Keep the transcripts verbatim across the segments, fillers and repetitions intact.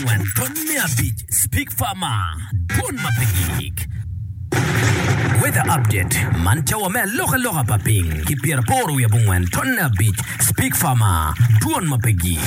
Ton me abic Speak Farmer Dwon ma pe gik Weather update man cawa me alokaloka pa piny ki pyeraboro wiye abongwen tonne abic Speak Farmer Dwon ma pe gik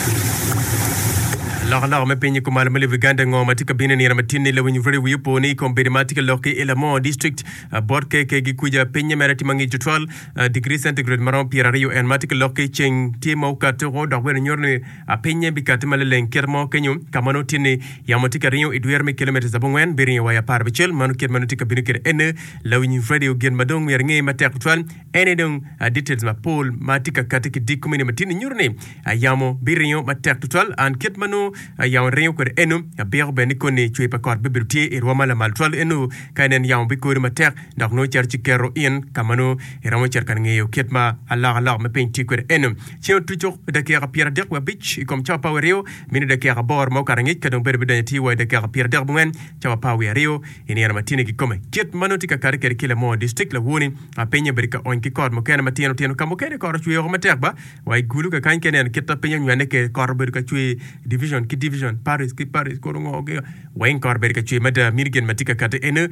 Alokaloka me piny i kumalo me lobo Uganda ngo ma tye ka bino i nino matin ni lawiny radio wiye opo ni i kom bedo ma tye ka lok ki i Lamor district uh, bot keke gi kuja pinye mere tye mangic tutwal uh, degree centigrade maromo pyeraryo en ma tye ka lok ki ceng tye ma okati oko dok bene nyuto ni uh, pinye bikati maleleng kit mo kenyo ka ma nongo tye ni yamo tye ka ringo i dwiro me kilometers abongwen biringo wa i apar abicel mano kit ma nongo tye ka bino kwede ene lawiny radio gin ma dong myero inge matek tutwal ene dong uh, details mapol ma tye ka kati ki dik komini matin ni nyuto ni uh, yamo biringo matek tutwal an kit ma nongo uh, yamo ringo kwede eno abiko bene ni koni cwe pa kot bibedo tye i rwom ma lamal tutwal eno ka inen yamo bikodo matek dok nongo cito ci keto in ka ma nongo iromo cito ka ngeyo kit ma alokaloka me piny tye kwede eno ceng otuco dakika pyeradek wiye abic i kom cawa apar wiye aryo mino dakika aboro ma okato angec ka dong bedo bidonyo tye wa i dakika pyeradek abongwen cawa apar wiye aryo i nino matini kikome kit ma nongo tye ka kati kwede ki Lamor district lawoni pinye obedo ka ony ki kot mukene matino tino ka mukene kot ocwe oko matek ba wa i gulu kakany ka ineno kit ma piny onywene kwede kot obedo ka cwe division ki division parish ki parish kono ngo ki weng kot obedo ka cwe mada mino gin ma tye ka kati eno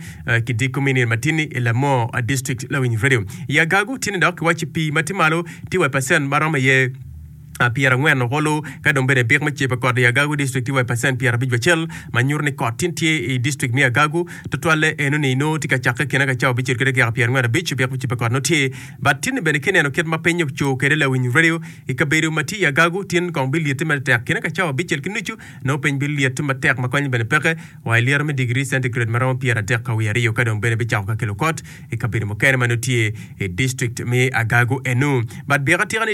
ki dik komini matini i Lamor district lawiny radio i Agago tye ni dok kiwaci pii ma tye malo tye wa i percent maromo iye pyerangwen olo ka dong bene bik me cepo kot i Agago district tye wa i percent pyerabic acel ma nyuto ni kot tin tye i district me Agago tutwalle eno ni nongo tye ka cakke kine ka cawa abicel ki dakika pyerangwen abic bik me cepo kot nongo tye but tin ni bene kineno kit ma piny oco kwede lawiny radio i kabedo ma tye i Agago tin kong bilyette matek kine ka cawa abicel ki nucu nongo piny bilyette matek ma konyo bene peke wa i lyeto me degree centigrade maromo pyeradek ka wiye aryo ka dong bene bicako ka kelo kot i kabedo mukene ma nongo tye i district me Agago eno but bik atika ni